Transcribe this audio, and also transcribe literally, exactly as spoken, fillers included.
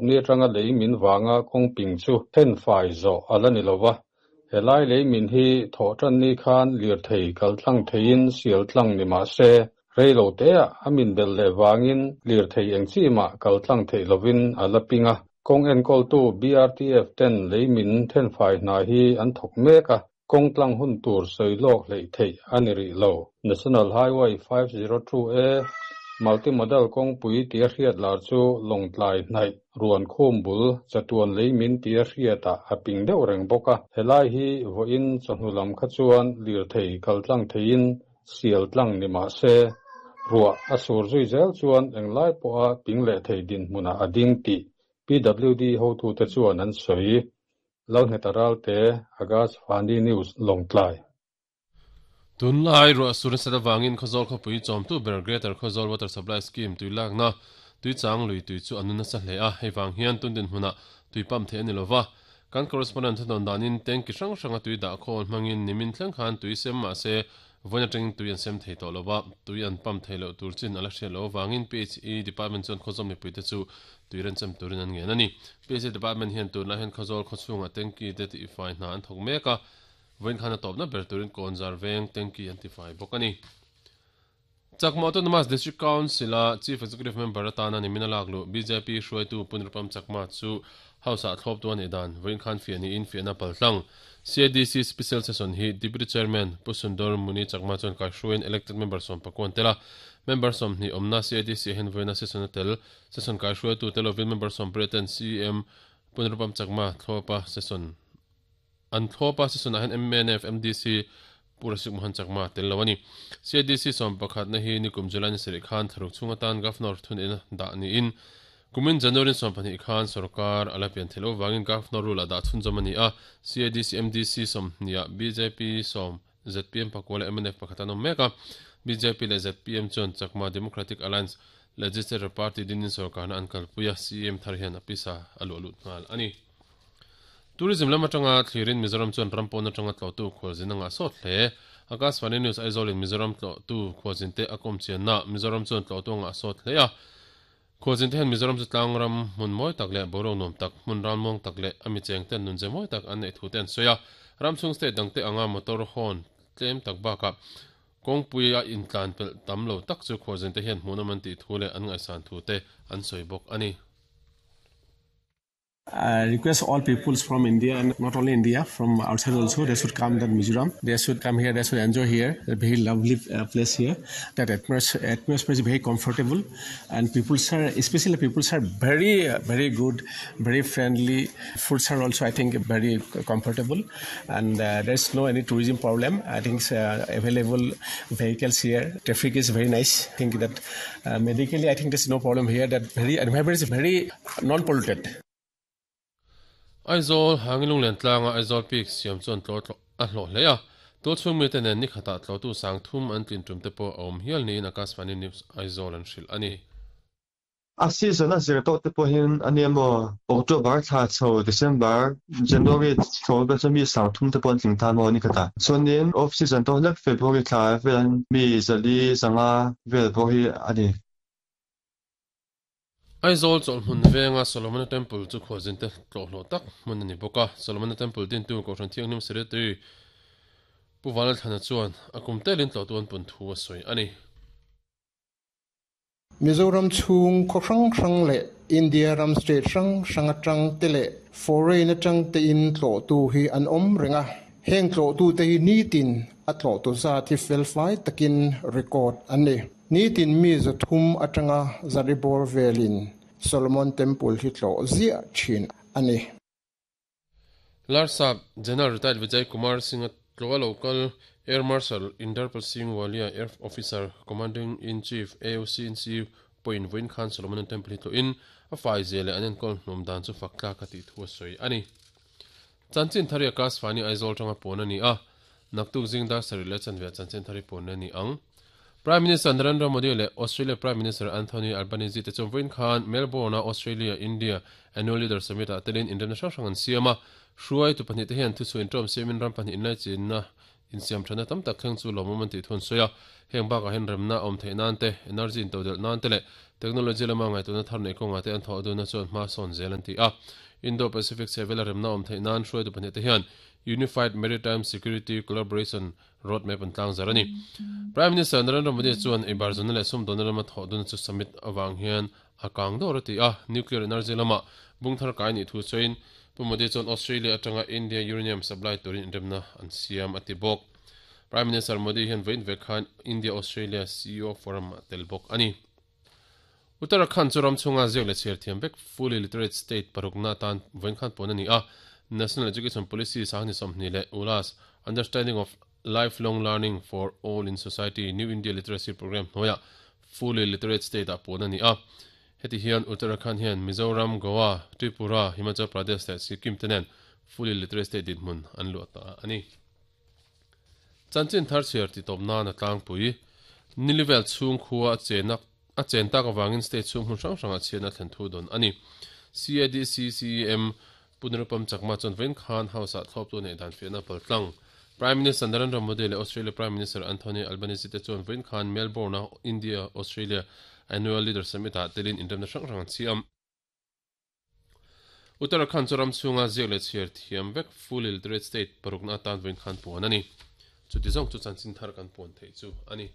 Ni atanga lei min wanga kawng ping chu then fai zo ala ni lova helai lei min hi tho tan ni khan lir thei kal tlang theiin sial tlang ni ma se reilo te a amin bel le wangin lir thei eng chi ma kal tlang thei lovin ala pinga kong en kol tu B R T F ten lei min then fai na hi an thok meka kong tlang hun tur soi lok lei thei ani ri lo National Highway five zero two A multimodal kong pui tia hriat lar chu longtlai hnai ruan khum bul chatuan lei min tia hriata a ping deuh reng bawka helai hi voin chawhnu lam kha chuan lir thei kal tlang theiin sial tlang ni ma se ruah a sur zui zel chuan englai pawha ping leh thei din hmuna a ding tih P W D hotu te chuan an sawi Lalnghet te Akashvani News Longtlai. Tunlai ruah sur nasa wangin Khawzawl khawpui chawmtu ber Greater Khawzawl Water Supply Scheme tui lakna tui chang lui tui chu anu nasa hle a hei wang hian tun din hmuna tui pam the ani lova kan correspondent thon danin tanki hrang hranga tui dah khawl hmangin nimin thleng khan tui sem ma se voina teng tui an sem thei to lova tui an pam thei lo tur chin ala hre lo wangin P H E department chuan Khawzawl mipui te chu tui ran chem turin an ngen ani P H E department hian tun la hian Khawzawl khawchhunga tanki te ti fai hna an thawk mek a voin khana topna ber turin konzar veng tanki an ti fai bawk ani Chakma Autonomous District Council a Chief Executive Member atana ni minalak lu B J P hruaitu Punrupam Chakma chu House a thlop tu ani dan voin khan fiani in fiana paltlang C A D C Special Session hi Deputy Chairman Pusundor Muni Chakma chuan kai hruain elected member som pakon tela member som ni omna C A D C hen voina session tel session kai hruaitu telovin member som preten C M Punrupam Chakma thlopa session an thlopa session a hen M N F M D C Purasik Mohan Chakma tel lawani C A D C som pakhat na hi nikum July ni sari khan tharuk chunga tan governor thun in da ni in kumin January som pani khan sarkar alapian thelo wangin governor rule da thun jamani a C A D C M D C som nia B J P som Z P M pakwala M N F pakhatano meka B J P le Z P M chon Chakma Democratic Alliance Legislative Party dinin sarkar na ankal puya C M tharhian apisa alu alu ngal ani Tourism lama tanga thlirin Mizoram chuan rampawna tanga tlo tu khualzin anga sawt hle Akashvani News Aizawl in Mizoram tlo tu khualzin te a kawm chian na Mizoram chuan tlo tu anga sawt hle a khualzin te hian Mizoram chu tlang ram hmun mawi tak leh boruak nuam tak hmun ram mawng tak leh ami cheng ten nun ze mawi tak an nei thu te an sawi a ramchhung state dang te anga motor hawn tlem tak bakah kawngpui a intlan pelh tam lo tak chu khualzin te hian hmuhnawm an tih thu leh an ngaihsan thu te an sawi bawk ani. I request all peoples from India and not only India, from outside also, they should come to Mizoram. They should come here, they should enjoy here. A very lovely uh, place here. That atmosphere, atmosphere is very comfortable, and people are, especially people are very, uh, very good, very friendly. Foods are also, I think, very comfortable, and uh, there's no any tourism problem. I think uh, available vehicles here. Traffic is very nice. I think that uh, medically, I think there's no problem here. That very environment is very non-polluted. Aizawl hangilung len tlanga Aizawl Peak siam chuan tlo a hlawh hle a to chhung mi te nen ni khata tlo tu sang thum an tlin tum te pawh a awm hial niin Akashvani News Aizawl an hrilh ani. A season a zir tawh te pawhin ani emaw October thla chho December January chho vel chu mi sang thum te pawh an tling tan maw ni khata chuanin off season tawh hlek February thla vel mi zali zanga vel pawh hi ani. Aizawl chawlhmun venga Solomon Temple chu khualzin te tlawhhlawh tak hmun ani bawk a Solomon Temple din tu kohhran thianghlim secretary Pu Vanlalthlana chuan a kum telin tlawh tu an pun thu a sawi ani. Mizoram chhung khaw hrang hrang leh India ram state hrang hrang atang te leh foreign atang te in tlawh tu hi an awm renga heng tlawh tu te hi nitin a tlawh tu zat hi felfai takin record an ni. Nitin mi zathum atanga zaribor velin Solomon Temple hi tlo zia thin ani. Larsap General Retired Vijay Kumar Singh tlo local Air Marshal Inderpal Singh Walia Air Officer Commanding in Chief A O C in C point voin khan Solomon Temple hi tlo in a fai zele anen kol hnum dan chu fakla ka ti thu soi ani. Chanchin thari Akashvani Aizawl tanga pon ani a naktuk jingda sarile chanve chanchin thari pon ani ang. Prime Minister Narendra Modi le Australia Prime Minister Anthony Albanese te chumvin khan Melbourne Australia India Annual Leader Summit a telin international hrangan siama hruai tu pahnih te hian thu chu intawm siamin ram pahnih inlai chinna insiam thana tam tak thleng chu lawmawm an tih thun sawi a heng bakah hian remna awm theih nan te energy in todel nan te leh Technology lama ngai tuna thar nei konga te an tho du na chuan hma sawn zel an ti a. Indo-Pacific sevela remna awm theih nan hruaitu pahnih te hian Unified Maritime Security Collaboration Roadmap an tlang zar ani. Prime Minister Narendra Modi chuan eibar zawn leh sum dawn lama tho dun chu summit awang hian a kang dawr ati a. Nuclear energy lama bungthar kai ni thu chain Pu Modi chuan Australia atanga India uranium supply turin inremna an siam ati bawk. Prime Minister Modi hian vein vek khan India Australia C E O Forum tel bawk ani. Uttarakhand chu ram chunga ziak leh chhiar thiam vek fully literate state parukna tan vein khan pawn ani a. National Education Policy sahni sawmhnih leh ulas Understanding of Lifelong Learning for All in Society New India Literacy Program hnuaiah fully literate state ah pawn ani a. Heti hian Uttarakhand hian Mizoram, Goa, Tripura, Himachal Pradesh leh Sikkim te nen fully literate state dinhmun an luah ta ani. Chanchin thar chhiar ti tawp nan a tlangpui nilivel chhung khua a chenak a chen tak awangin state chhung hmun hrang hrang a chhian a thlen thu dawn ani. C A D C C E M Punarupam Chakma chuan vein khan house ah thlawp tu nei dan fiahna paltlang. Prime Minister Narendra Modi leh Australia Prime Minister Anthony Albanese te chuan vein khan Melbourne a India Australia Annual Leader Summit ah telin inremna hrang hrang an chiam. Uttarakhand chu ram chhunga ziak leh chhiar thiam vek fully literate state parukna atan vein khan puan ani. Chuti zawng chu chanchin thar kan puan theih chu ani.